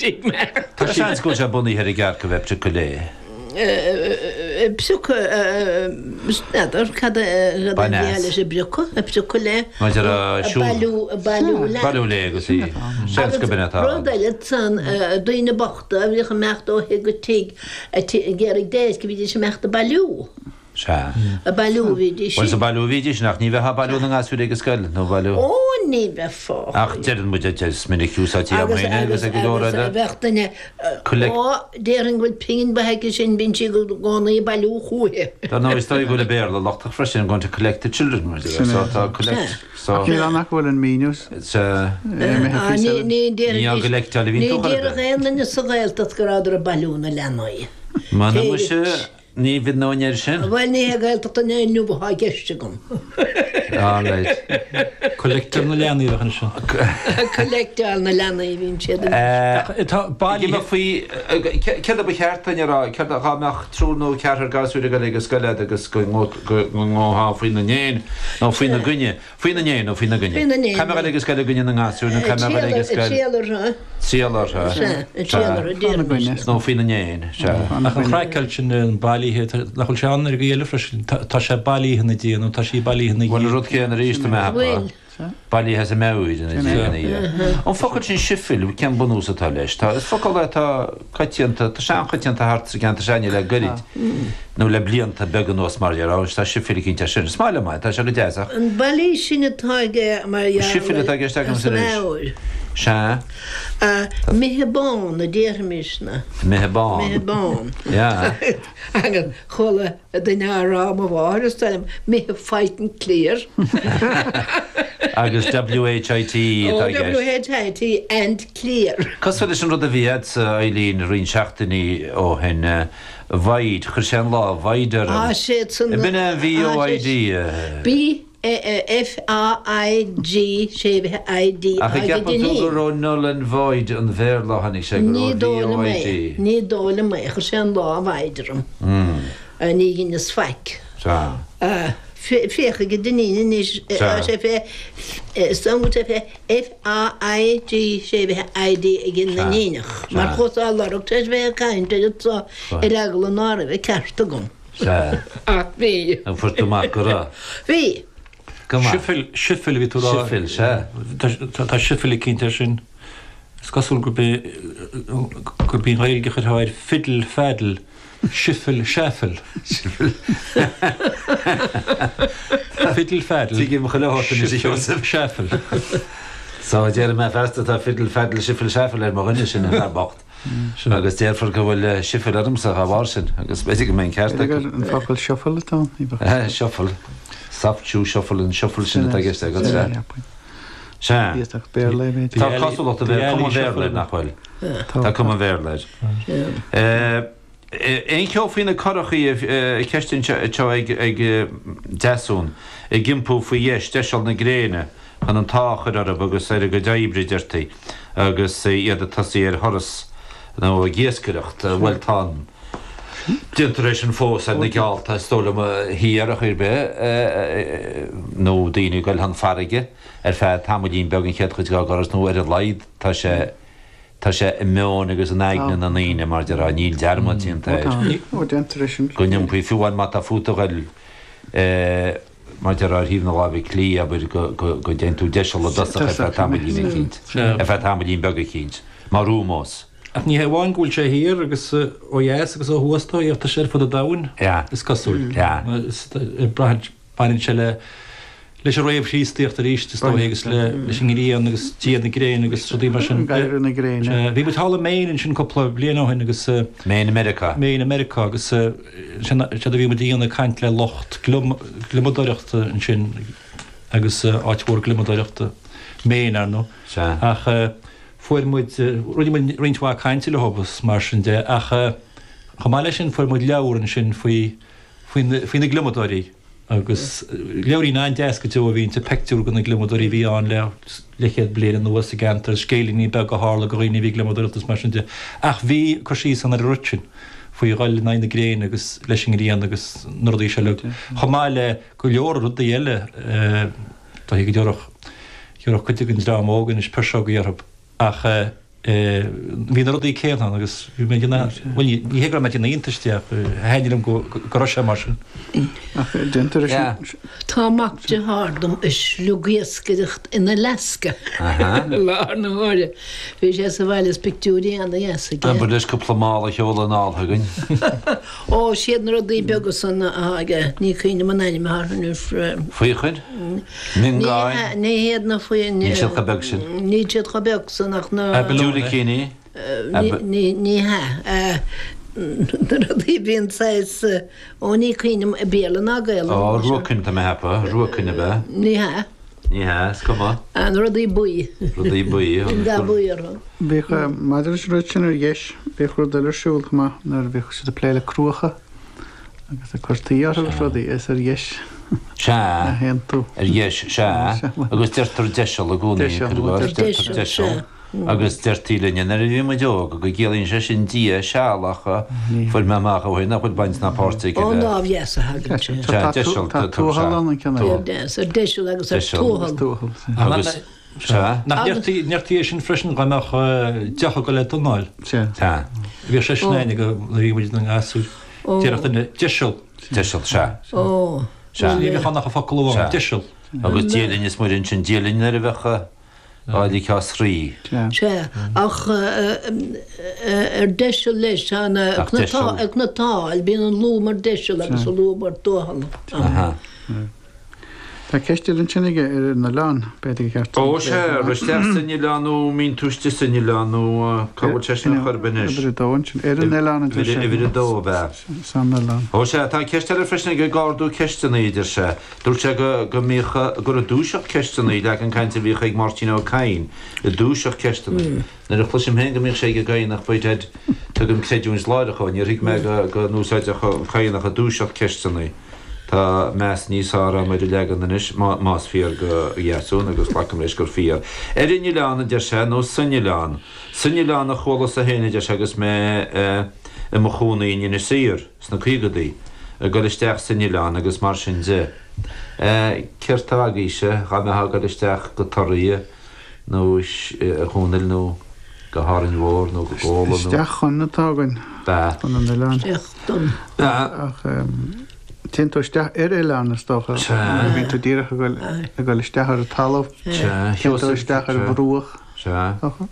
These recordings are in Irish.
Tá seans go bhfuil sé bunaithe ar an gcearc a bheith ag priocadh lao. Priocadh, n'fheadar cad a Bain bhí as. leis an bpriocadh, ag priocadh lao. Maidir le siúl. Bailiú, bailiú lao. Bailiú lao agus í. Seans go b'in atá Agus rud ann. eile ansan, daoine bochta a bhíodh ag imeacht ó thigh go tigh ag iarraidh déirce, bhídís ag imeacht ag bailiú. Sea. Ag bailiú a bhídís. Bhuel, is ag bailiú a bhídís, nach ní bheifeá ag bailiú na ngasúr ag an scoil, nó bailiú. Ó, ní bheifeá. Ach deireann muid, is minic úsáidtí agam féin é agus ag go leor Agus eile. bheadh duine, Collect. ó, déarfainn go bhfuil pingin mhaith aici sin, bíonn sí i gcónaí ag bailiú chúichi. Dar ndóigh, is dóigh go bhfuil an Béarla lochtach freisin, I'm going to collect the children, mar a deir, so tá collect, so. Ach níl ann ach go bhfuil an míniú Sea. imithe Á, píosa ní, eile. ní Ní á déarfaidís, gcollectáil a bhíonn ní tú chor ar déarfadh bith. aon duine sa Ghaeltacht go rabhadar ag bailiú na leanaí. M'anam muise. Ní bhfionnóinn air sin. Bhuel, ní hé Gaeltacht an lae inniu atá i gceist agam. All right. Collector na leanaí a bheadh anseo. Collectáil na leanaí a bhíonn siad anois. Tá bailithe. Ag imeacht faoi, céard a ba cheart duinn a rá, céard a, dhá mbeadh triúr nó ceathrar gasúir ag dul ag an scoil agat agus go ngabhfá faoina ndéin nó faoina gcoinne. Faoina ndéin nó faoina gcoinne? Faoina ndéin. Caithfidh mé a dhul ag an scoil i gcoinne na ngasúr nó caithfidh mé a dhul ag an scoil. Ag triall orthu. Triall orthu. Sea, ag triall orthu, déarfaimis. Nó faoina ndéin, sea. Ach an chraiceáil sin, an bailithe, nach bhfuil sé ann ar an gcaoi eile freisin? Tá sé bailithe ina diaidh nó tá sí bailithe ina Bhuel, an dhiaidh. rud céanna arís, tá mé a cheapadh. Bhfuil. Bailithe as a meabhair ina diaidh. An focal sin sifil, cén bunús atá leis? Tá, is focal é atá coitianta, tá sé an-choitianta thart sa gceantar seo le goirid, nó le blianta beaga anuas mar dhea, tá sifil eicínt air sin. Is maith liom é, tá sé go deas ach. An bailí sin atá aige mar gheall Sifil atá i gceist agam as a anois. meabhair. Sea. Imithe bán a déarfaimisne. Imithe bán. Imithe bán. Yeah. Agus chuala duine á rá, mo mháthair is dóigh liom, imithe fighting clear. Agus WHIT atá i gceist. Oh, WHIT and clear. Cosúil leis an rud a bhí agatsa, Eileen, roinnt seachtainí ó shin, void, chuir sé an lá void orm. Ah, siad san. B'in é an V-O-I-D. B F-A-I-G séimhithe I-D Ach an gceapann tú gur ó null and void an Bhéarla a tháinig sé, gur Ní ó dóigh liom é. V-O-I-D? Ní dóigh liom é. Chuir sé an lá void orm. Ní dheineas faic. Sea. Féach ag an Dinín anois. Sea. Tá sé fé, is dóigh go bhfuil sé fé F-A-I-G séimhithe I-D ag an Duinníneach. Mar chuas á lorg tar éis bheith ag caint air anso ar eagla ná raibh an ceart agam. Sea. Ach bhí. An fuair tú amach go raibh? Bhí. Go maith. Sifil, sifil a bhí tú a rá. Sifil, sea. Tá sifil eicínt air sin. Is cosúil gurb é, gurb í an Ghaeilge a chuirfeá ar fiddle faddle, sifil seaifil. Sifil. Fiddle faddle. Tuigim chuile shórt anois, a Sheosaimh. Sifil seaifil. So, déarfaidh mé feasta tá fiddle faddle sifil seaifil ar mo dhuine sin, an fear bocht. Agus déarfar go bhfuil sifil ormsa dá bharr sin, agus b'fhéidir go mbeidh an ceart acu. An focal shuffle atá ann? Shuffle. Soft shoe shuffle, an shuffle sin atá i gceist agat, sea. Sea. Tá cosúlacht an Bhéarla, cuma an Bhéarla air, nach bhfuil? Tá cuma an Bhéarla air. Aon cheo faoi na curachaí, ceist anseo ag Deasún, ag iompú faoi dheis, deiseal na gréine, chun an t-ádh a chur orthu agus ar a gcuid oibre, deirtí, agus iad ag tosaí ar thuras nó ag iascaireacht. Bhuel, tá an. Déantar é sin fós ar na geallta, is dóigh liom, thiar ar chaoi ar bith, nó daoine ag dul chun farraige ar feadh tamaillín beag an chéad chuid dá dturas, nó ar a laghad tá sé. Tá sé i meon agus in aigne na ndaoine, mar déarfá, níl dearmad déanta air. Ó, déantar é sin. Go n-iompaí, fiú amháin má tá fút a ghoil, mar déarfá, ar thaobh na láimhe clí, abair, go dtéann tú deiseal i dtosach ar feadh tamaillín eicínt, ar feadh tamaillín beag eicínt, mar ómós. Ach ní hé amháin go bhfuil sé thiar agus ó dheas agus ó thuas, tá sé ar fud an domhain, is cosúil. Baineann sé le leis an réamh-Chríostaíocht arís, is dóigh, agus leis an ngrian agus Dia na gréine agus rudaí mar sin. Adhradh na gréine. Bhí muid thall i Maine ansin cúpla bliain ó shin agus. Maine i Meiriceá. Maine i Meiriceá agus sin séard a bhí muid a dhéanamh ag caint le lucht gliomadóireachta ansin agus áit mhór gliomadóireachta Maine, ar ndóigh. Sea. Ach fuair muid, rinne muid roinnt mhaith cainte leo agus mar sin de ach chomh maith leis sin fuair muid leabhar ansin faoi faoi na gliomadóirí agus leabhairín an-deas go deo a bhí inti, peictiúr de na gliomadóirí a bhí ann le leathchéad bliain anuas sa gceantar, scéilíní beaga a tharla do dhaoine a bhí ag gliomadóireacht agus mar sin de. Ach bhí cur síos ann ar an rud sin, faoi dhul in aghaidh na gréine agus leis an ngrian agus na rudaí seo uilig, chomh maith le go leor rudaí eile, dóigh go dtabharfadh cuid den dream óg anois piseogaí orthu. Ach. Bhí na rudaí céanna ann agus bhí mé ag déanamh, bhuel ní hé go raibh mé ag déanamh iontais de ach thaitnigh liom go raibh sé mar sin. Ach déantar é sin. Tá mac dearthár dom ag sliogiascaireacht in Alaska i láthair na huaire. Bhí sé sa bhaile is pictiúirí ana-dheas aige. Abair leis cúpla mála a sheoladh anall chugainn. Ó, siad na rudaí beaga san atá aige, ní cuimhin liom an ainm atá orthu anois. Faochain? Miongáin? Ní hiad na faoi. Níl siad chomh beag sin. Níl siad chomh beag san ach na. Diúilicíní? Ní hea. Na rudaí a bhíonn saghas, ó ní cuimhin liom Béarla ná Gaelainn. Ó, ruacain tá mé a cheapadh, ruacain ab ea? Ní hea. Ní hea, is cuma. Na rudaí buí. Rudaí buí. Bíonn dath buí orthu. Bhíodh, maidir leis an rud sin ar dheis, bhíodh rud eile ar siúl chomh maith nuair a bhíodh siad ag plé le cruacha. Agus ag cur tuí orthu agus rudaí, is ar dheis Sea, a théann tú. ar dheis, sea. Agus deirtear deiseal i gcónaí, Deiseal, cuir i gcás, deirtear deiseal. Agus deirtí linne nuair a bhí muid óg go gciallaíonn sé sin Dia seal ach fuair mé amach ó shin nach bhfuil baint ná páirt aige Ón le. lámh dheas a thagann sé. Sea, deiseal, Tá tuathal ann an ceann eile. Lámh dheas, ar deiseal agus ar Deiseal. tuathal. Tuathal, sea. Agus. Sea. Nach ndeirtí é sin freisin dá mbeadh deoch ag dul le donáil. Sea. Sea. Bhíodh sé sin againne nuair a bhí muid inár ngasúir. Déarfadh duine, deiseal. Deiseal, sea. Ó. Sea. Ní bheadh ann ach an focal amháin, deiseal. Agus Dia linn is Muire ansin, Dia linn nuair a bheadh á ligeadh as thrí. Sea. Ach ar deiseal leis, tá na cnatáil, bíonn an lúb mar deiseal agus an lúb mar tuathal. Aha. Tá ceist eile ansin aige ar an oileán, b'fhéidir gur cheart. Ó sea, ar isteach san oileán nó mbíonn tú istigh san oileán nó cá bhfuil sé sin ar chor ar bith anois? Uimhir a dó ansin. Ar an oileán a deir sé. Uimhir a dó ab ea? San oileán. Ó sea, tá ceist eile freisin aige ag ardú ceisteanna, a deir sé. Dúirt sé go go mbíodh, gur ag dúiseacht ceisteanna, leagan cainte a bhíodh ag Máirtín Ó Cadhain, ag dúiseacht ceisteanna. Nuair a chloisim féin go mbíodh sé ag an gCadhnach, by dad, tugaim creidiúint láithreach dhó, níor thuig mé go go n-úsáideadh an Cadhnach ag dúiseacht ceisteanna. Tá meas níos fearr agam ar an leagan anois, más fíor do Dheasún, agus glacaim leis gur fíor. Ar an oileán, a deir sé, nó san oileán. San oileán a chualasa féin, a deir sé, agus mé i mo chónaí in Inis Oírr sna caogadaí, ag dul isteach san oileán agus mar sin de. Céard tá agaibhse, dhá mbeifeá ag dul isteach go Toraigh nó a Dhónaill nó go hÁrainn Mhór nó go Gabhla nó. Isteach chun atá againn. Bea. Chun an oileáin. Isteach don. Bea. Ach téann tú isteach ar oileán is dócha. Sea. Nuair a bhíonn tú díreach ag dul ag dul isteach ar an talamh. Sea. Téann tú isteach ar an bhruach. Sea. Dócha.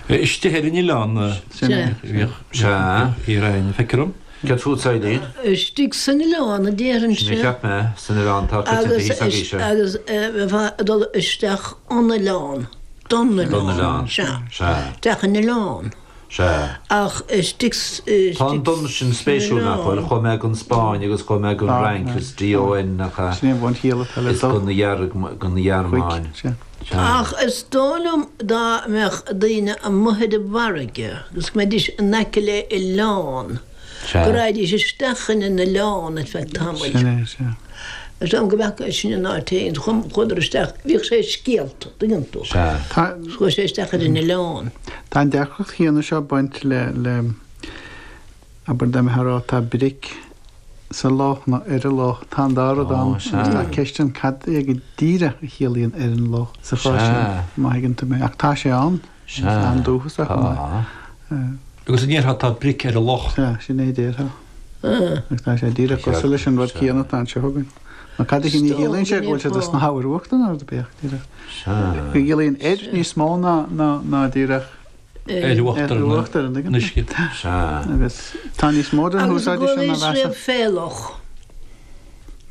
Istigh ar an oileán. Sin é. Bhíodh. Sea. Bhí feictear dom. Céard fút, Eileen? Istigh san oileán a déarfainnse. Sin a cheap mé, san oileán atá coitianta thíos agaibhse. Agus bheifeá ag dul isteach an oileán, don oileán. Don oileán. Sea. Sea. Isteach an oileán. Sea. Ach istigh, istigh Tá an don sin spéisiúil, nach bhfuil? Chuaigh mé gon Spáinn agus chuaigh mé gon Fhrainc, is DON nach ea? Sin é an bhunchiall atá le Is do. gon gon Ghearmáin. Chuig, sea. Sea. Ach is dóigh liom dá mbeadh daoine amuigh ar an bhfarraige agus go mbeidís in aice le oileán, Sea. go raghaidís isteach in an oileán ar feadh tamaill. Sin é, sea. Is dóigh liom go bhfaca sin in áit éigin, chuadar isteach, bhíodh sé i scéalta, tuigeann tú. Sea. Tá. Chuaigh sé isteach ar an oileán. Tá an deacracht chéanna seo ag baint le, le, abair dá mbeifeá ag rá tá bric sa loch nó ar an loch, tá an dá rud ann Ó, sea. agus tá ceist ann cad é go díreach a chiallaíonn ar an loch sa chás sin, Sea. má thuigeann tú mé. Ach tá sé ann, Sea. is andúchasach chomh maith. Tá. Agus an ndéarfá tá bric ar an loch? Sea, sin é a déarfá. Agus tá sé díreach cosúil leis an rud céanna atá anseo againn. Nó cad a ní chiallaíonn sé go bhfuil siad ag snámh ar uachtar nó rud ar bith ach díreach. Sea. Go gciallaíonn ar níos mó ná, ná, ná díreach Ar uachtar an uisce. Sea. Agus tá níos mó den Agus úsáid sin ná an gcualaís mheasa. riamh fé loch.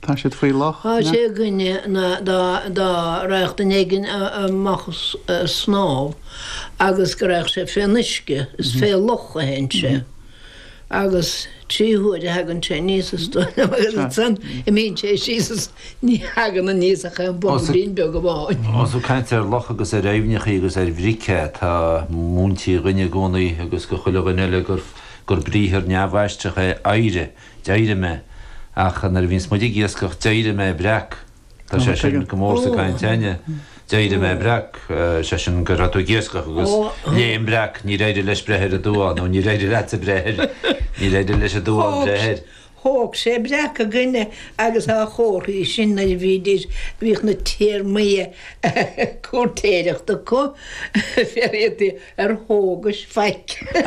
Tá siad faoi loch. Tá sé againne ná dá dá raghadh duine éigin amach ag snámh agus go raghadh sé fén uisce, is fé loch a théann sé. Agus 3 huaire a thagann sé aníos is dóigh liom agus ansan imíonn sé síos is ní thagann aníos ach aon bobailín beag amháin. Ós ag caint ar loch agus ar aibhneachaí agus ar bhric é, tá múinte againn i gcónaí agus go chuile dhuine eile gur gur briathar neamhaistreach é éirigh, d'éirigh mé, ach nuair a bhíonns muid ag iascach d'éirigh mé breac. Tá sé sin go mór sa gcaint againne. D'éirigh mé breac, sé sin go raibh tú ag iascach agus léim breac, níor éirigh leis breith ar an duán, nó níor éirigh leatsa breith air, níor éirigh leis an duán breith air. Thóg sé breac againne agus a chomharthaí sin nuair a bhídís, bhíodh na téarmaí cúirtéireachta acu, fiafraíodh ar thógais faic.